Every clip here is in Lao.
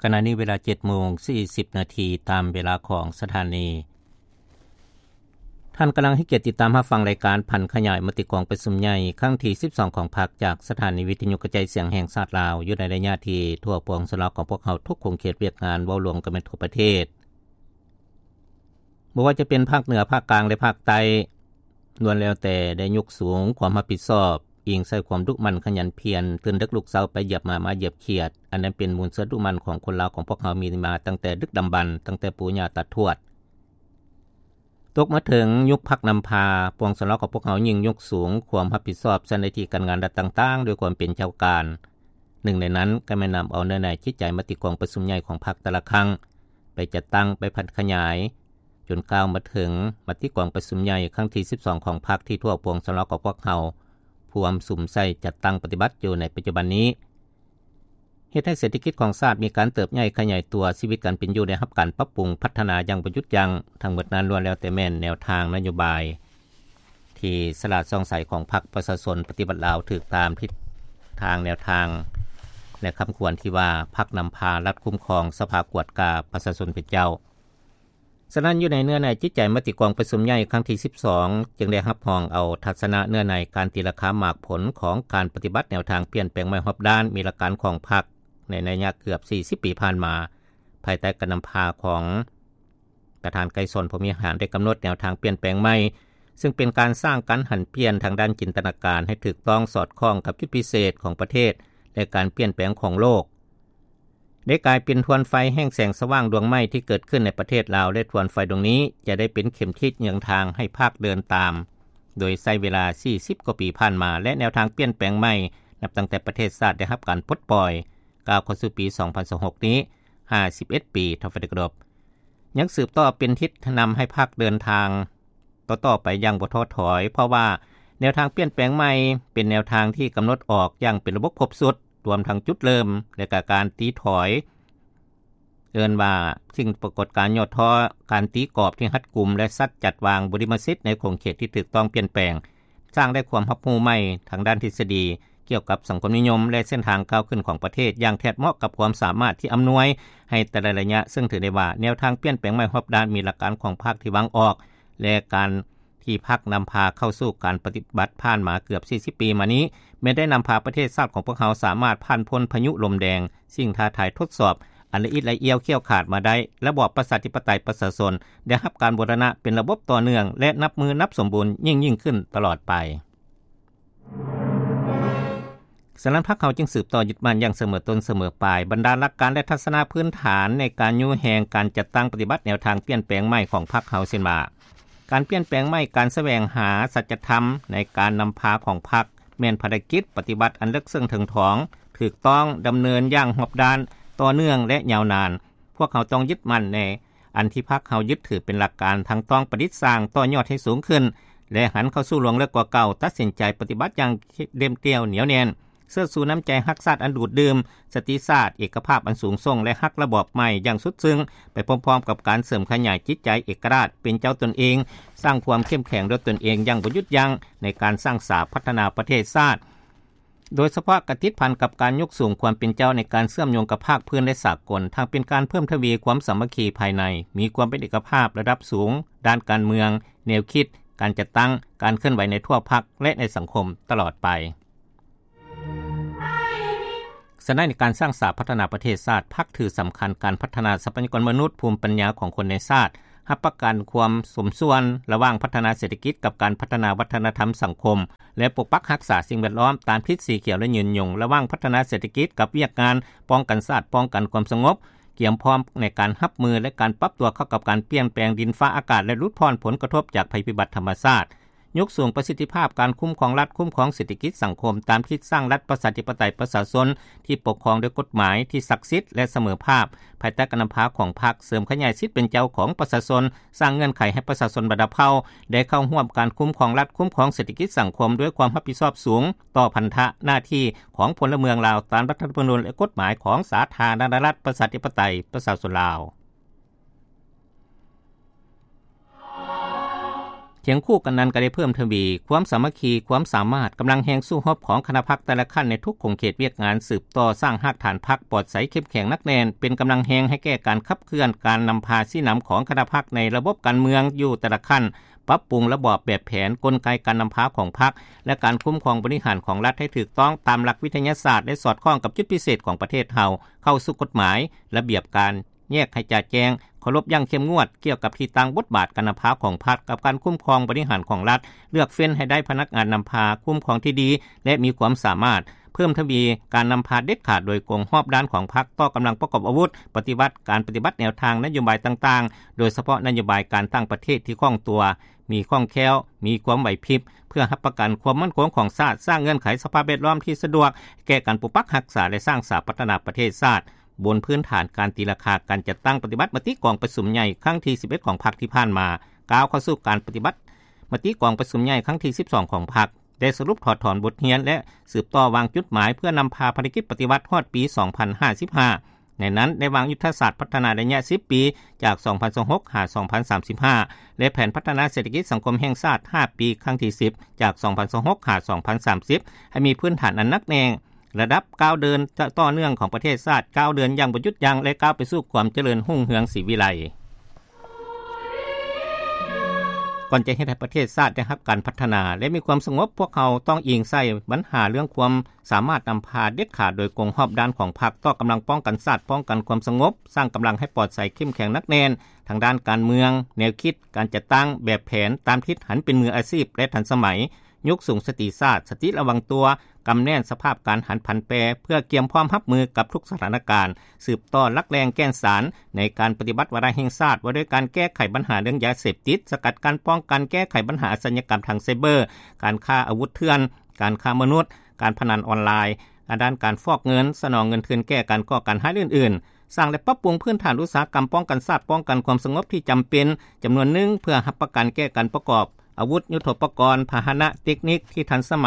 ຂະນະນີ້ເວລາເຈັດໂມງສີ່ສິບນາທີ ຕາມເວລາຂອງສະຖານີ. ທ່ານກຳລັງໃຫ້ກຽດຕິດຕາມຮັບຟັງລາຍການຜັນຂະຫຍາຍມະຕິກອງປະຊຸມໃຫຍ່ຄັ້ງທີສິບສອງຂອງພັກ ຈາກສະຖານີວິທະຍຸກະຈາຍສຽງແຫ່ງຊາດລາວ ຢູ່ໃນໄລຍະທີ່ທົ່ວປວງຊົນລາວຂອງພວກເຮົາທຸກຂົງເຂດວຽກງານ ເວົ້າລວມກັນແມ່ນທົ່ວປະເທດ. ບໍ່ວ່າຈະເປັນພາກເໜືອ, ພາກກາງ ແລະ ພາກໃຕ້ ລ້ວນແລ້ວແຕ່ໄດ້ຍົກສູງຄວາມຮັບຜິດຊອບ, ອີງໃສ່ຄວາມດຸໝັ່ນຂະຫຍັນພຽນ, ຕື່ນເດິກລຸກເຊົ້າໄປຢຽບໝາ, ມາຢຽບຂຽດ, ອັນນັ້ນເປັນມູນເຊື້ອດຸໝັ່ນຂອງຄົນລາວຂອງພວກເຮົາມີມາຕັ້ງແຕ່ດຶກດຳບັນ, ຕັ້ງແຕ່ປູ່ຍ່າຕາທວດ. ຕົກມາເຖິງຍຸກພັກນຳພາ, ປວງຊົນລາວຂອງພວກເຮົາຍິ່ງຍົກສູງຄວາມຮັບຜິດຊອບໃສ່ໜ້າທີ່ການງານລັດຕ່າງໆ ດ້ວຍຄວາມເປັນເຈົ້າການ. ໜຶ່ງໃນນັ້ນກໍແມ່ນນຳເອົາເນື້ອໃນຈິດໃຈມະຕິກອງປະຊຸມໃຫຍ່ຂອງພັກແຕ່ລະຄັ້ງ ໄປຈັດຕັ້ງ, ໄປຜັນຂະຫຍາຍ, ຈົນກ້າວມາເຖິງມະຕິກອງປະຊຸມໃຫຍ່ຄັ້ງທີສິບສອງຂອງພັກ ທີ່ທົ່ວປວງຊົນລາວຂອງພວກເຮົາພວມສຸມໃສ່ຈັດຕັ້ງປະຕິບັດຢູ່ໃນປັດຈຸບັນນີ້. ເຮັດໃຫ້ເສດຖະກິດຂອງຊາດມີການເຕີບໃຫຍ່ຂະຫຍາຍຕົວ, ຊີວິດການເປັນຢູ່ໄດ້ຮັບການປັບປຸງພັດທະນາຢ່າງບໍ່ຢຸດຢັ້ງ. ທັງໝົດນັ້ນລ້ວນແລ້ວແຕ່ແມ່ນແນວທາງນະໂຍບາຍທີ່ສະຫຼາດສ່ອງໃສຂອງພັກປະຊາຊົນປະຕິວັດລາວ ຖືກຕາມທິດທາງແນວທາງ ແລະ ຄຳຂວັນທີ່ວ່າ ພັກນຳພາ, ລັດຄຸ້ມຄອງ, ສະພາກວດກາ, ປະຊາຊົນເປັນເຈົ້າ. ສະນັ້ນ, ຢູ່ໃນເນື້ອໃນຈິດໃຈມະຕິກອງປະຊຸມໃຫຍ່ຄັ້ງທີສິບສອງ ຈຶ່ງໄດ້ຮັບຮອງເອົາທັດສະນະເນື້ອໃນການຕີລາຄາໝາກຜົນຂອງການປະຕິບັດແນວທາງປ່ຽນແປງໃໝ່ຮອບດ້ານມີຫຼັກການຂອງພັກ ໃນໄລຍະເກືອບສີ່ສິບປີຜ່ານມາ, ພາຍໃຕ້ການນຳພາຂອງປະທານໄກສອນ ພົມວິຫານ ໄດ້ກຳນົດແນວທາງປ່ຽນແປງໃໝ່, ຊຶ່ງເປັນການສ້າງການຫັນປ່ຽນທາງດ້ານຈິນຕະນາການໃຫ້ຖືກຕ້ອງສອດຄ່ອງກັບຈຸດພິເສດຂອງປະເທດ ແລະ ການປ່ຽນແປງຂອງໂລກ. ໄດ້ກາຍເປັນທວນໄຟແຫ່ງແສງສະຫວ່າງດວງໃໝ່ທີ່ເກີດຂຶ້ນໃນປະເທດລາວ ແລະ ທວນໄຟດວງນີ້ຈະໄດ້ເປັນເຂັມທິດນຳທາງໃຫ້ພັກເດີນຕາມ ໂດຍໃຊ້ເວລາສີ່ສິບກວ່າປີຜ່ານມາ ແລະ ແນວທາງປ່ຽນແປງໃໝ່ ນັບຕັ້ງແຕ່ປະເທດຊາດໄດ້ຮັບການປົດປ່ອຍ ກ້າວເຂົ້າສູ່ປີສອງພັນຊາວຫົກນີ້ ຫ້າສິບເອັດປີ ທ້າວໄຟໄດ້ເຄົາລົບ ຍັງສືບຕໍ່ເປັນທິດນຳໃຫ້ພັກເດີນທາງ ຕໍ່ໆໄປຢ່າງບໍ່ທໍ້ຖອຍ, ເພາະວ່າແນວທາງປ່ຽນແປງໃໝ່ເປັນແນວທາງທີ່ກຳນົດອອກຢ່າງເປັນລະບົບຄົບຊຸດ, ລວມທັງຈຸດເລີ່ມ ແລະ ກະການຕີຖອຍ, ເອີ້ນວ່າສິ່ງປາກົດການຫຍໍ້ທໍ້, ການຕີກອບທີ່ຮັດກຸມ ແລະ ສັດຈັດວາງບຸລິມະສິດໃນຂົງເຂດທີ່ຖືກຕ້ອງປ່ຽນແປງ, ສ້າງໄດ້ຄວາມຮັບຮູ້ໃໝ່ທາງດ້ານທິດສະດີ ກ່ຽວກັບສັງຄົມນິຍົມ ແລະ ເສັ້ນທາງກ້າວຂຶ້ນຂອງປະເທດ ຢ່າງແທດເໝາະກັບຄວາມສາມາດທີ່ອຳນວຍໃຫ້ແຕ່ລະໄລຍະ, ເຊິ່ງຖືໄດ້ວ່າແນວທາງປ່ຽນແປງໃໝ່ຮອບດ້ານມີຫຼັກການຂອງພັກທີ່ວາງອອກ ແລະ ການທີ່ພັກນຳພາເຂົ້າສູ່ການປະຕິບັດຜ່ານມາເກືອບສີ່ສິບປີມານີ້ ແມ່ນໄດ້ນຳພາປະເທດຊາດຂອງພວກເຮົາສາມາດຜ່ານພົ້ນພາຍຸລົມແດງ, ສິ່ງທ້າທາຍທົດສອບອັນລະອິດລະອຽວຂ້ຽວຂາດມາໄດ້, ລະບອບປະຊາທິປະໄຕປະຊາຊົນໄດ້ຮັບການບູລະນະເປັນລະບົບຕໍ່ເນື່ອງ ແລະ ນັບມື້ນັບສົມບູນຍິ່ງໆຂຶ້ນຕະຫຼອດໄປ. ສະນັ້ນ ພັກເຮົາຈຶ່ງສືບຕໍ່ຍຶດໝັ້ນຢ່າງສະເໝີຕົ້ນສະເໝີປາຍ ບັນດາຫຼັກການ ແລະ ທັດສະນະພື້ນຖານໃນການຍູ້ແຮງການຈັດຕັ້ງປະຕິບັດແນວທາງປ່ຽນແປງໃໝ່ຂອງພັກເຮົາ ເຊັ່ນວ່າ ການປ່ຽນແປງໃໝ່, ການສະແຫວງຫາສັດຈະທຳໃນການນຳພາຂອງພັກ ແມ່ນພາລະກິດປະຕິບັດອັນເລິກເຊິ່ງເຖິງຖອງ, ຖືກຕ້ອງ, ດຳເນີນຢ່າງຮອບດ້ານ, ຕໍ່ເນື່ອງ ແລະ ຍາວນານ. ພວກເຮົາຕ້ອງຍຶດໝັ້ນໃນອັນທີ່ພັກເຮົາຍຶດຖືເປັນຫຼັກການ, ທັງຕ້ອງປະດິດສ້າງຕໍ່ຍອດໃຫ້ສູງຂຶ້ນ ແລະ ຫັນເຂົ້າສູ່ລວງເລິກກວ່າເກົ່າ, ຕັດສິນໃຈປະຕິບັດຢ່າງເດັດດ່ຽວໜຽວແໜ້ນ, ເຊີດຊູນ້ຳໃຈຮັກຊາດອັນດູດດື່ມ, ສະຕິຊາດ, ເອກະພາບອັນສູງສົ່ງ ແລະ ຮັກລະບອບໃໝ່ຢ່າງສຸດຊຶ້ງ, ໄປພ້ອມໆກັບການເສີມຂະຫຍາຍຈິດໃຈເອກະລາດ, ເປັນເຈົ້າຕົນເອງ, ສ້າງຄວາມເຂັ້ມແຂງດ້ວຍຕົນເອງຢ່າງບໍ່ຢຸດຢັ້ງໃນການສ້າງສາພັດທະນາປະເທດຊາດ. ໂດຍສະເພາະກະຕິດພັນກັບການຍົກສູງຄວາມເປັນເຈົ້າໃນການເຊື່ອມໂຍງກັບພາກພື້ນ ແລະ ສາກົນ, ທັງເປັນການເພີ່ມທະວີຄວາມສາມັກຄີພາຍໃນ, ມີຄວາມເປັນເອກະພາບລະດັບສູງດ້ານການເມືອງ, ແນວຄິດ, ການຈັດຕັ້ງ, ການເຄື່ອນໄຫວໃນທົ່ວພັກ ແລະ ໃນສັງຄົມຕະຫຼອດໄປ. ສະນັ້ນ ໃນການສ້າງສາພັດທະນາປະເທດຊາດ, ພັກຖືສຳຄັນການພັດທະນາຊັບພະຍາກອນມະນຸດ, ພູມປັນຍາຂອງຄົນໃນຊາດ, ຮັບປະກັນຄວາມສົມສ່ວນລະຫວ່າງພັດທະນາເສດຖະກິດກັບການພັດທະນາວັດທະນະທຳສັງຄົມ ແລະ ປົກປັກຮັກສາສິ່ງແວດລ້ອມ, ຕາມທິດສີຂຽວ ແລະ ຍືນຍົງລະຫວ່າງພັດທະນາເສດຖະກິດກັບວຽກງານປ້ອງກັນຊາດ, ປ້ອງກັນຄວາມສະຫງົບ, ກຽມພ້ອມໃນການຮັບມື ແລະ ການປັບຕົວເຂົ້າກັບການປ່ຽນແປງດິນຟ້າອາກາດ ແລະ ຫຼຸດຜ່ອນຜົນກະທົບຈາກໄພພິບັດທຳມະຊາດ. ຍົກສູງປະສິດທິພາບການຄຸ້ມຄອງລັດ, ຄຸ້ມຄອງເສດຖະກິດສັງຄົມ ຕາມທິດສ້າງລັດປະຊາທິປະໄຕປະຊາຊົນ ທີ່ປົກຄອງດ້ວຍກົດໝາຍທີ່ສັກສິດ ແລະ ສະເໝີພາບ, ພາຍໃຕ້ການນຳພາຂອງພັກ, ເສີມຂະຫຍາຍສິດເປັນເຈົ້າຂອງປະຊາຊົນ, ສ້າງເງື່ອນໄຂໃຫ້ປະຊາຊົນບັນດາເຜົ່າໄດ້ເຂົ້າຮ່ວມການຄຸ້ມຄອງລັດ, ຄຸ້ມຄອງເສດຖະກິດສັງຄົມດ້ວຍຄວາມຮັບຜິດຊອບສູງຕໍ່ພັນທະໜ້າທີ່ຂອງພົນລະເມືອງລາວ ຕາມລັດຖະທຳມະນູນ ແລະ ກົດໝາຍຂອງສາທາລະນະລັດປະຊາທິປະໄຕປະຊາຊົນລາວ. ຄຽງຄູ່ກັນນັ້ນ ກໍໄດ້ເພີ່ມທະວີຄວາມສາມັກຄີ, ຄວາມສາມາດ, ກຳລັງແຮງສູ້ຮົບຂອງຄະນະພັກແຕ່ລະຂັ້ນໃນທຸກຂົງເຂດວຽກງານ, ສືບຕໍ່ສ້າງຮາກຖານພັກປອດໃສເຂັ້ມແຂງໜັກແໜ້ນ, ເປັນກຳລັງແຮງໃຫ້ແກ່ການຂັບເຄື່ອນການນຳພາຊີ້ນຳຂອງຄະນະພັກໃນລະບົບການເມືອງຢູ່ແຕ່ລະຂັ້ນ, ປັບປຸງລະບອບແບບແຜນ, ກົນໄກການນຳພາຂອງພັກ ແລະ ການຄຸ້ມຄອງບໍລິຫານຂອງລັດໃຫ້ຖືກຕ້ອງຕາມຫຼັກວິທະຍາສາດ ແລະ ສອດຄ່ອງກັບຈຸດພິເສດຂອງປະເທດເຮົາ, ເຂົ້າສູ່ກົດໝາຍ, ລະບຽບການ, ແຍກໃຫ້ຈະແຈ້ງ, ເຄົາລົບຢ່າງເຂັ້ມງວດກ່ຽວກັບທີ່ຕັ້ງ, ບົດບາດການນຳພາຂອງພັກ, ກັບການຄຸ້ມຄອງບໍລິຫານຂອງລັດ, ເລືອກເຟ້ນໃຫ້ໄດ້ພະນັກງານນຳພາຄຸ້ມຄອງທີ່ດີ ແລະ ມີຄວາມສາມາດ, ເພີ່ມທະວີການນຳພາເດັດຂາດໂດຍກົງຮອບດ້ານຂອງພັກຕໍ່ກຳລັງປະກອບອາວຸດ, ປະຕິບັດການປະຕິບັດແນວທາງນະໂຍບາຍຕ່າງໆ, ໂດຍສະເພາະນະໂຍບາຍການຕ່າງປະເທດທີ່ຄ່ອງຕົວ, ມີຄ່ອງແຄ້ວ, ມີຄວາມໄຫວພິບ, ເພື່ອຮັບປະກັນຄວາມໝັ້ນຄົງຂອງຊາດ, ສ້າງເງື່ອນໄຂສະພາບແວດລ້ອມທີ່ສະດວກແກ່ການປົກປັກຮັກສາ ແລະ ສ້າງສາພັດທະນາປະເທດຊາດ. ບົນພື້ນຖານການຕີລາຄາການຈັດຕັ້ງປະຕິບັດມະຕິກອງປະຊຸມໃຫຍ່ຄັ້ງທີສິບເອັດຂອງພັກທີ່ຜ່ານມາ, ກ້າວເຂົ້າສູ່ການປະຕິບັດມະຕິກອງປະຊຸມໃຫຍ່ຄັ້ງທີສິບສອງຂອງພັກ, ໄດ້ສະຫຼຸບຖອດຖອນບົດຮຽນ ແລະ ສືບຕໍ່ວາງຈຸດໝາຍເພື່ອນຳພາພາລະກິດປະຕິວັດຮອດປີສອງພັນຫ້າສິບຫ້າ. ໃນນັ້ນໄດ້ວາງຍຸດທະສາດພັດທະນາໄລຍະສິບປີ ຈາກສອງພັນຊາວຫົກ ຫາ ສອງພັນສາມສິບຫ້າ ແລະ ແຜນພັດທະນາເສດຖະກິດສັງຄົມແຫ່ງຊາດຫ້າປີ ຄັ້ງທີສິບ ຈາກສອງພັນຊາວຫົກ ຫາ ສອງພັນສາມສິບ ໃຫ້ມີພື້ນຖານອັນໜັກແໜ້ນ, ລະດັບກ້າວເດີນຕໍ່ເນື່ອງຂອງປະເທດຊາດ, ກ້າວເດີນຢ່າງບໍ່ຢຸດຢັ້ງ ແລະ ກ້າວໄປສູ່ຄວາມຈະເລີນຮຸ່ງເຮືອງສີວິໄລ. ກ່ອນຈະເຮັດໃຫ້ປະເທດຊາດໄດ້ຮັບການພັດທະນາ ແລະ ມີຄວາມສະຫງົບ, ພວກເຮົາຕ້ອງອີງໃສ່ບັນຫາເລື່ອງຄວາມສາມາດນຳພາເດັດຂາດໂດຍກົງຮອບດ້ານຂອງພັກຕໍ່ກຳລັງປ້ອງກັນຊາດ, ປ້ອງກັນຄວາມສະຫງົບ, ສ້າງກຳລັງໃຫ້ປອດໃສ, ເຂັ້ມແຂງ, ໜັກແໜ້ນ ທາງດ້ານການເມືອງ, ແນວຄິດ, ການຈັດຕັ້ງ, ແບບແຜນ, ຕາມທິດຫັນເປັນມືອາຊີບ ແລະ ທັນສະໄໝ. ຍົກສູງສະຕິຊາດ, ສະຕິລະວັງຕົວ, ກຳແໜ້ນສະພາບການຫັນຜັນແປ ເພື່ອກຽມພ້ອມຮັບມືກັບທຸກສະຖານະການ, ສືບຕໍ່ຫຼັກແຫຼ່ງແກ່ນສານໃນການປະຕິບັດວາລະແຫ່ງຊາດ ວ່າດ້ວຍການແກ້ໄຂບັນຫາເລື່ອງຢາເສບຕິດ, ສະກັດກັ້ນ, ປ້ອງກັນ, ແກ້ໄຂບັນຫາອາຊະຍາກຳທາງໄຊເບີ, ການຄ້າອາວຸດເຖື່ອນ, ການຄ້າມະນຸດ, ການພະນັນອອນລາຍ, ດ້ານການຟອກເງິນ, ສະໜອງເງິນທຶນແກ້ການກໍ່ການຮ້າຍ ແລະ ອື່ນໆ. ສ້າງ ແລະ ປັບປຸງພື້ນຖານອຸດສາຫະກຳປ້ອງກັນຊາດ, ປ້ອງກັນຄວາມສະຫງົບທີ່ຈຳເປັນຈຳນວນໜຶ່ງ ເພື່ອຮັບປະກັນແກ່ການປະກອບອາວຸດ, ຍຸດໂທປະກອນ, ພາຫະນະ, ເຕັກນິກທີ່ທັນສະໄໝ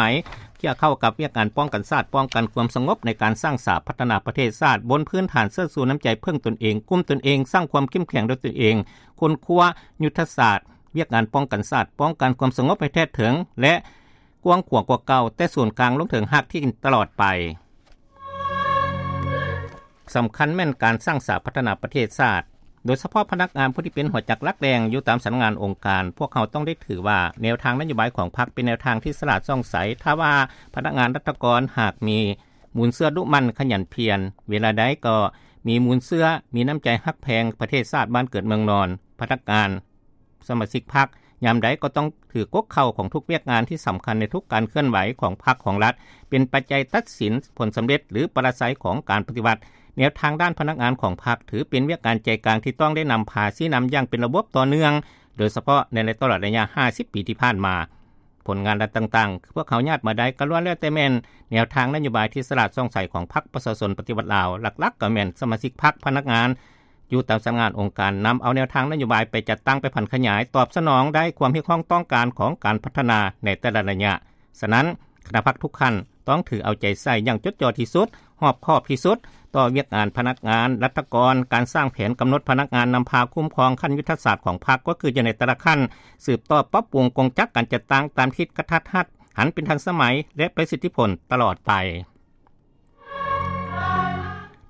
ທີ່ເຂົ້າກັບວຽກງານປ້ອງກັນຊາດ, ປ້ອງກັນຄວາມສະຫງົບໃນການສ້າງສາພັດທະນາປະເທດຊາດ ບົນພື້ນຖານເຊີດຊູນ້ຳໃຈເພິ່ງຕົນເອງ, ກຸ້ມຕົນເອງ, ສ້າງຄວາມເຂັ້ມແຂງດ້ວຍຕົນເອງ, ຄົ້ນຄວ້າຍຸດທະສາດວຽກງານປ້ອງກັນຊາດ, ປ້ອງກັນຄວາມສະຫງົບໃຫ້ແທດເຖິງ ແລະ ກວ້າງຂວາງກວ່າເກົ່າ, ແຕ່ສູນກາງລົງເຖິງຮາກຖຽນຕະຫຼອດໄປ. ສຳຄັນແມ່ນການສ້າງສາພັດທະນາປະເທດຊາດ, ໂດຍສະເພາະພະນັກງານຜູ້ທີ່ເປັນຫົວຈັກຫຼັກແຫຼ່ງຢູ່ຕາມສຳນັກງານອົງການ. ພວກເຮົາຕ້ອງໄດ້ຖືວ່າແນວທາງນະໂຍບາຍຂອງພັກເປັນແນວທາງທີ່ສະຫຼາດສ່ອງໃສ. ຖ້າວ່າພະນັກງານລັດຖະກອນຫາກມີມູນເຊື້ອດຸໝັ່ນຂະຫຍັນພຽນ, ເວລາໃດກໍມີມູນເຊື້ອ, ມີນ້ຳໃຈຮັກແພງປະເທດຊາດບ້ານເກີດເມືອງນອນ, ພະນັກງານ ສະມາຊິກພັກ ຍາມໃດກໍຕ້ອງຖືກົກເຄົ້າຂອງທຸກວຽກງານທີ່ສຳຄັນໃນທຸກການເຄື່ອນໄຫວຂອງພັກຂອງລັດ, ເປັນປັດໄຈຕັດສິນຜົນສຳເລັດ ຫຼື ປະລາໄຊຂອງການປະຕິວັດ. ແນວທາງດ້ານພະນັກງານຂອງພັກ ຖືເປັນວຽກງານໃຈກາງທີ່ຕ້ອງໄດ້ນຳພາຊີ້ນຳຢ່າງເປັນລະບົບຕໍ່ເນື່ອງ, ໂດຍສະເພາະໃນຕະຫຼອດໄລຍະຫ້າສິບປີທີ່ຜ່ານມາ. ຜົນງານລັດຕ່າງໆ ພວກເຮົາຍາດມາໄດ້ ກໍລ້ວນແລ້ວແຕ່ແມ່ນແນວທາງນະໂຍບາຍທີ່ສະຫຼາດສ່ອງໃສຂອງພັກປະຊາຊົນປະຕິວັດລາວ, ຫຼັກໆ ກໍແມ່ນສະມາຊິກພັກ, ພະນັກງານ ຢູ່ຕາມສຳນັກງານອົງການ ນຳເອົາແນວທາງນະໂຍບາຍໄປຈັດຕັ້ງ, ໄປຜັນຂະຫຍາຍ, ຕອບສະໜອງໄດ້ຄວາມຮຽກຮ້ອງຕ້ອງການຂອງການພັດທະນາໃນແຕ່ລະໄລຍະ. ສະນັ້ນ, ຄະນະພັກທຸກຂັ້ນຕ້ອງຖືເອົາໃຈໃສ່ຢ່າງຈົດຈ່ອທີ່ສຸດ, ຮອບຄອບທີ່ສຸດ ຕໍ່ວຽກງານພະນັກງານ, ລັດຖະກອນ, ການສ້າງແຜນກຳນົດພະນັກງານນຳພາຄຸ້ມຄອງຂັ້ນຍຸດທະສາດຂອງພັກ ກໍຄືຢູ່ໃນແຕ່ລະຂັ້ນ, ສືບຕໍ່ປັບປຸງກົງຈັກການຈັດຕັ້ງຕາມທິດກະທັດຮັດ, ຫັນເປັນທັນສະໄໝ ແລະ ປະສິດທິຜົນຕະຫຼອດໄປ.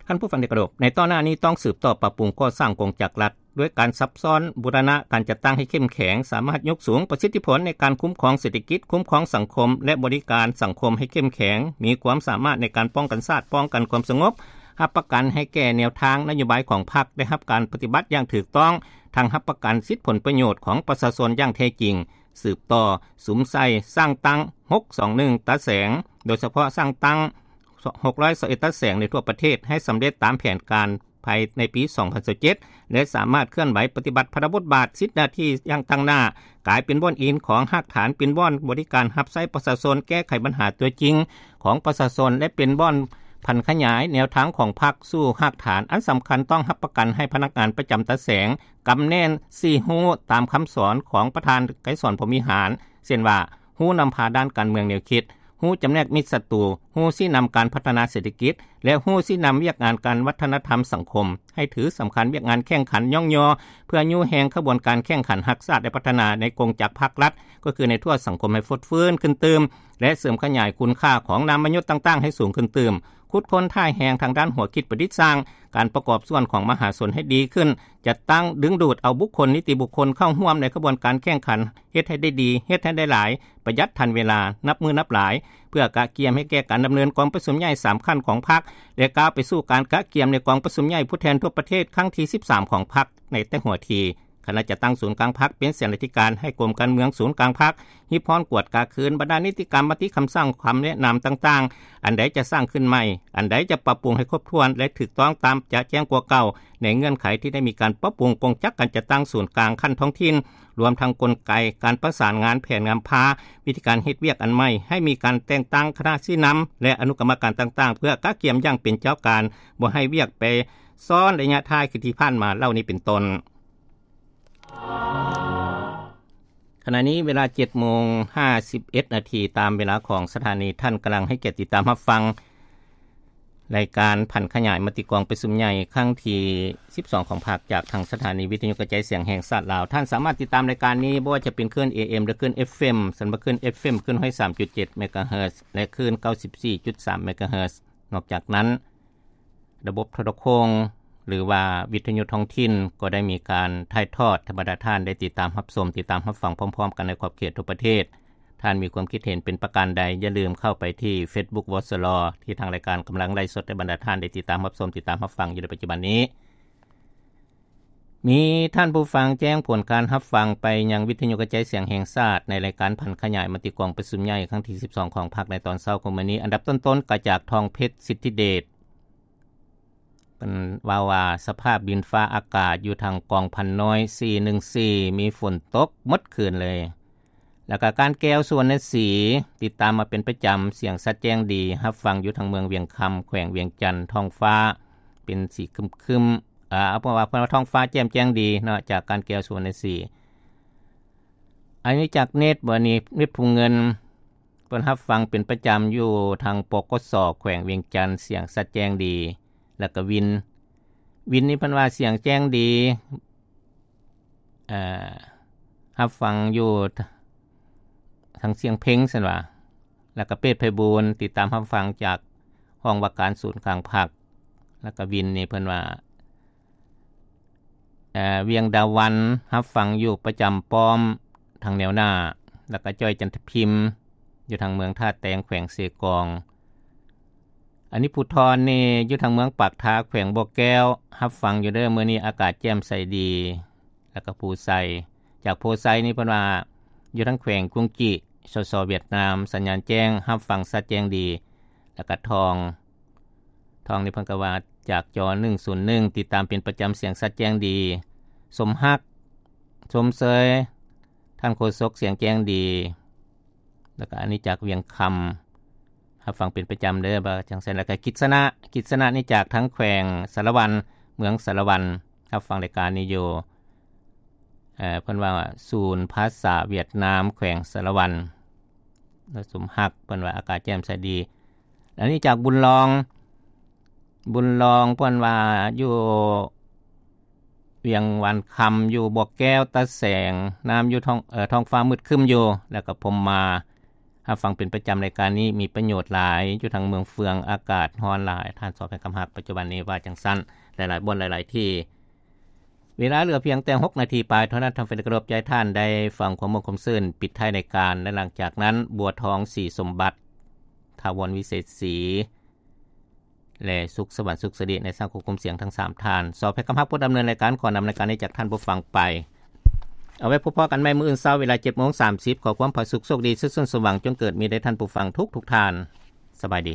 ທ່ານຜູ້ຟັງທີ່ເຄົາລົບ, ໃນຕໍ່ໜ້ານີ້ຕ້ອງສືບຕໍ່ປັບປຸງກໍ່ສ້າງກົງຈັກລັດ ດ້ວຍການຊັບຊ້ອນບູລະນະການຈັດຕັ້ງໃຫ້ເຂັ້ມແຂງ, ສາມາດຍົກສູງປະສິດທິຜົນໃນການຄຸ້ມຄອງເສດຖະກິດ, ຄຸ້ມຄອງສັງຄົມ ແລະ ບໍລິການສັງຄົມໃຫ້ເຂັ້ມແຂງ, ມີຄວາມສາມາດໃນການປ້ອງກັນຊາດ, ປ້ອງກັນຄວາມສະຫງົບ, ຮັບປະກັນໃຫ້ແກ່ແນວທາງນະໂຍບາຍຂອງພັກໄດ້ຮັບການປະຕິບັດຢ່າງຖືກຕ້ອງ, ທັງຮັບປະກັນສິດຜົນປະໂຫຍດຂອງປະຊາຊົນຢ່າງແທ້ຈິງ. ສືບຕໍ່ສຸມໃສ່ສ້າງຕັ້ງຫົກສອງໜຶ່ງຕາແສງ, ໂດຍສະເພາະສ້າງຕັ້ງຫົກຮ້ອຍຊາວເອັດຕາແສງໃນທົ່ວປະເທດໃຫ້ສຳເລັດຕາມແຜນການພາຍໃນປີສອງພັນຊາວເຈັດ ແລະ ສາມາດເຄື່ອນໄຫວປະຕິບັດພາລະບົດບາດ, ສິດໜ້າທີ່ຢ່າງຕັ້ງໜ້າ, ກາຍເປັນບ່ອນອີງຂອງຮາກຖານ, ເປັນບ່ອນບໍລິການຮັບໃຊ້ປະຊາຊົນ, ແກ້ໄຂບັນຫາຕົວຈິງຂອງປະຊາຊົນ ແລະ ເປັນບ່ອນຜັນຂະຫຍາຍແນວທາງຂອງພັກສູ່ຮາກຖານ. ອັນສຳຄັນ, ຕ້ອງຮັບປະກັນໃຫ້ພະນັກງານປະຈຳຕາແສງ ກຳແໜ້ນສີ່ຮູ້ຕາມຄຳສອນຂອງປະທານໄກສອນ ພົມວິຫານ, ເຊັ່ນວ່າ ຮູ້ນຳພາດ້ານການເມືອງແນວຄິດ, ຮູ້ຈຳແນກມິດສັດຕູ, ຮູ້ຊີ້ນຳການພັດທະນາເສດຖະກິດ ແລະ ຮູ້ຊີ້ນຳວຽກງານການວັດທະນະທຳສັງຄົມ, ໃຫ້ຖືສຳຄັນວຽກງານແຂ່ງຂັນຍ້ອງຍໍ ເພື່ອຍູ້ແຮງຂະບວນການແຂ່ງຂັນຮັກຊາດ ແລະ ພັດທະນາໃນກົງຈັກພັກລັດ, ກໍຄືໃນທົ່ວສັງຄົມໃຫ້ຟົດຟື້ນຂຶ້ນຕື່ມ ແລະ ເສີມຂະຫຍາຍຄຸນຄ່າຂອງນາມມະຍດຕ່າງໆໃຫ້ສູງຂຶ້ນຕື່ມ, ຂຸດຄົ້ນທ່າແຮງທາງດ້ານຫົວຄິດປະດິດສ້າງ, ການປະກອບສ່ວນຂອງມະຫາຊົນໃຫ້ດີຂຶ້ນ, ຈັດຕັ້ງດຶງດູດເອົາບຸກຄົນ, ນິຕິບຸກຄົນເຂົ້າຮ່ວມໃນຂະບວນການແຂ່ງຂັນ, ເຮັດໃຫ້ໄດ້ດີ, ເຮັດໃຫ້ໄດ້ຫຼາຍ, ປະຢັດທັນເວລາ, ນັບມື້ນັບຫຼາຍ, ເພື່ອກະກຽມໃຫ້ແກ່ການດຳເນີນກອງປະຊຸມໃຫຍ່ສາມຂັ້ນຂອງພັກ ແລະ ກ້າວໄປສູ່ການກະກຽມໃນກອງປະຊຸມໃຫຍ່ຜູ້ແທນທົ່ວປະເທດຄັ້ງທີສິບສາມຂອງພັກໃນແຕ່ຫົວທີ. ຄະນະຈັດຕັ້ງສູນກາງພັກເປັນເສນາທິການໃຫ້ກົມການເມືອງສູນກາງພັກ ຮິບຮ້ອນກວດກາຄືນບັນດານິຕິກຳ, ມະຕິຄຳສັ່ງ, ຄຳແນະນຳຕ່າງໆ, ອັນໃດຈະສ້າງຂຶ້ນໃໝ່, ອັນໃດຈະປັບປຸງໃຫ້ຄົບຖ້ວນ ແລະ ຖືກຕ້ອງຕາມຈະແຈ້ງກວ່າເກົ່າ ໃນເງື່ອນໄຂທີ່ໄດ້ມີການປັບປຸງກົງຈັກການຈັດຕັ້ງສູນກາງຂັ້ນທ້ອງຖິ່ນ, ລວມທັງກົນໄກການປະສານງານ, ແຜນນຳພາ, ວິທີການເຮັດວຽກອັນໃໝ່, ໃຫ້ມີການແຕ່ງຕັ້ງຄະນະຊີ້ນຳ ແລະ ອະນຸກຳມະການຕ່າງໆ ເພື່ອກະກຽມຢ່າງເປັນເຈົ້າການ, ບໍ່ໃຫ້ວຽກໄປຊ້ອນໄລຍະທ້າຍຄືທີ່ຜ່ານມາເຫຼົ່ານີ້ເປັນຕົ້ນ. ຂະນະນີ້ເວລາເຈັດໂມງຫ້າສິບເອັດນາທີ ຕາມເວລາຂອງສະຖານີ. ທ່ານກຳລັງໃຫ້ກຽດຕິດຕາມຮັບຟັງລາຍການຜັນຂະຫຍາຍມະຕິກອງປະຊຸມໃຫຍ່ຄັ້ງທີສິບສອງຂອງພັກ ຈາກທາງສະຖານີວິທະຍຸກະຈາຍສຽງແຫ່ງຊາດລາວ. ທ່ານສາມາດຕິດຕາມລາຍການນີ້ ບໍ່ວ່າຈະເປັນຄື້ນ ເອເອັມ ຫຼື ຄື້ນ ເອັຟເອັມ, ສຳລັບຄື້ນ ເອເອັມ ຂຶ້ນຮ້ອຍສາມຈຸດເຈັດເມກາເຮີດ ແລະ ຄື້ນເກົ້າສິບສີ່ຈຸດສາມເມກາເຮີດ. ນອກຈາກນັ້ນ ລະບົບໂທລະໂຄ່ງ ຫຼືວ່າວິທະຍຸທ້ອງຖິ່ນ ກໍໄດ້ມີການຖ່າຍທອດໃຫ້ບັນດາທ່ານໄດ້ຕິດຕາມຮັບຊົມ, ຕິດຕາມຮັບຟັງພ້ອມໆກັນໃນຂອບເຂດທົ່ວປະເທດ. ທ່ານມີຄວາມຄິດເຫັນເປັນປະການໃດ, ຢ່າລືມເຂົ້າໄປທີ່ Facebook ວສລ ທີ່ທາງລາຍການກຳລັງໄລຟ໌ສົດໃນບັນດາທ່ານໄດ້ຕິດຕາມຮັບຊົມ, ຕິດຕາມຮັບຟັງຢູ່ໃນປັດຈຸບັນນີ້. ມີທ່ານຜູ້ຟັງແຈ້ງຜົນການຮັບຟັງໄປຍັງວິທະຍຸກະຈາຍສຽງແຫ່ງຊາດ ໃນລາຍການຜັນຂະຫຍາຍມະຕິກອງປະຊຸມໃຫຍ່ຄັ້ງທີສິບສອງຂອງພັກໃນຕອນເຊົ້າຂອງມື້ນີ້. ອັນດັບຕົ້ນໆ ກໍຈາກທອງເພັດ ສິດທິເດດ. ເພິ່ນເວົ້າວ່າ ສະພາບດິນຟ້າອາກາດຢູ່ທາງກອງພັນນ້ອຍ ສີ່ໜຶ່ງສີ່ ມີຝົນຕົກໝົດຄືນເລີຍ. ແລ້ວກໍການແກ້ວ ສຸວັນນະສີ ຕິດຕາມມາເປັນປະຈຳ, ສຽງຊັດແຈ້ງດີ, ຮັບຟັງຢູ່ທາງເມືອງວຽງຄຳ ແຂວງວຽງຈັນ, ທ້ອງຟ້າເປັນສີຄຶ້ມໆ ເອີ ເອົາເປັນວ່າ ເພິ່ນວ່າທ້ອງຟ້າແຈ່ມແຈ້ງດີເນາະ ຈາກການແກ້ວ ສຸວັນນະສີ. ອານາຈັກເນັດ ບໍ່ນີ້ ເນັດພູເງິນ ເພິ່ນຮັບຟັງເປັນປະຈຳຢູ່ທາງ ປກສ ແຂວງວຽງຈັນ ສຽງຊັດແຈ້ງດີ. ແລ້ວກໍວິນ ວິນນີ້ເພິ່ນວ່າສຽງແຈ້ງດີ ເອີ ຮັບຟັງຢູ່ທາງຊຽງເພັງ ຊັ້ນວ່າ. ແລ້ວກໍເປດໄພບູນ ຕິດຕາມຮັບຟັງຈາກຫ້ອງວ່າການສູນກາງພັກ. ແລ້ວກໍວິນນີ້ເພິ່ນວ່າ ເອີ ວຽງດາວັນ ຮັບຟັງຢູ່ປະຈຳປ້ອມທາງແນວໜ້າ. ແລ້ວກໍຈ້ອຍ ຈັນທະພິມ ຢູ່ທາງເມືອງທ່າແຕງ ແຂວງເຊກອງ. ອັນນີ້ ພູທອນນີ້ ຢູ່ທາງເມືອງປາກທາ ແຂວງບໍ່ແກ້ວ ຮັບຟັງຢູ່ເດີ ມື້ນີ້ອາກາດແຈ່ມໃສດີ. ແລ້ວກໍພູໄຊ ຈາກໂພໄຊນີ້ເພິ່ນວ່າ ຢູ່ທາງແຂວງກຸງຈີ ສສ ຫວຽດນາມ ສັນຍານແຈ້ງ ຮັບຟັງຊັດແຈ້ງດີ. ແລ້ວກໍທອງ ທອງນີ້ເພິ່ນກໍວ່າຈາກຈໍໜຶ່ງສູນໜຶ່ງ ຕິດຕາມເປັນປະຈຳ ສຽງຊັດແຈ້ງດີ. ສົມຮັກ ຊົມເຊີຍ ທ່ານໂຄສົກ ສຽງແຈ້ງດີ. ແລ້ວກໍອັນນີ້ຈາກວຽງຄຳ ຮັບຟັງເປັນປະຈຳເດີ ວ່າຈັ່ງຊັ້ນ. ແລ້ວກໍກິດສະນະ ກິດສະນະນີ້ຈາກທາງແຂວງສາລະວັນ ເມືອງສາລະວັນ ຮັບຟັງລາຍການນີ້ຢູ່ ເອີ ເພິ່ນວ່າສູນພາສາຫວຽດນາມ ແຂວງສາລະວັນ. ແລ້ວສົມຮັກ ເພິ່ນວ່າອາກາດແຈ່ມໃສດີ. ອັນນີ້ຈາກບຸນລອງ ບຸນລອງ ເພິ່ນວ່າຢູ່ວຽງວານຄຳ ຢູ່ບໍ່ແກ້ວ ຕາແສງ ນ້ຳຢູ່ທ້ອງ ເອີ ທ້ອງຟ້າມືດຄຶ້ມຢູ່. ແລ້ວກໍພົມມາ ຮັບຟັງເປັນປະຈຳ ລາຍການນີ້ມີປະໂຫຍດຫຼາຍ ຢູ່ທາງເມືອງເຟືອງ ອາກາດຮ້ອນຫຼາຍ ທ່ານສອບໃຫ້ຄຳຮັກ. ປັດຈຸບັນນີ້ວ່າຈັ່ງຊັ້ນ ຫຼາຍໆບ່ອນ ຫຼາຍໆທີ່. ເວລາເຫຼືອພຽງແຕ່ຫົກນາທີປາຍເທົ່ານັ້ນ ທ່ານແຟນກະທົບໃຈທ່ານໄດ້ຟັງຄວາມມ່ວນຄວາມຊື່ນ ປິດທ້າຍລາຍການ ແລະ ຫຼັງຈາກນັ້ນ ບົວທອງ ສີສົມບັດ, ຖາວອນ ວິເສດສີ ແລະ ສຸກສະຫວັນ ສຸກສະດີ ໃນສາງຄວບຄຸມສຽງທັງສາມທ່ານ. ສອບໃຫ້ຄຳຮັກຜູ້ດຳເນີນລາຍການ ຂໍນຳລາຍການນີ້ຈາກທ່ານຜູ້ຟັງໄປ. ເອົາໄວ້ພົບພໍ້ກັນໃໝ່ມື້ອື່ນເຊົ້າ ເວລາເຈັດໂມງສາມສິບ. ຂໍຄວາມຜາສຸກ ໂຊກດີ ສຸກຊົນ ສົມຫວັງ ຈົ່ງເກີດມີແດ່ທ່ານຜູ້ຟັງທຸກໆທ່ານ. ສະບາຍດີ.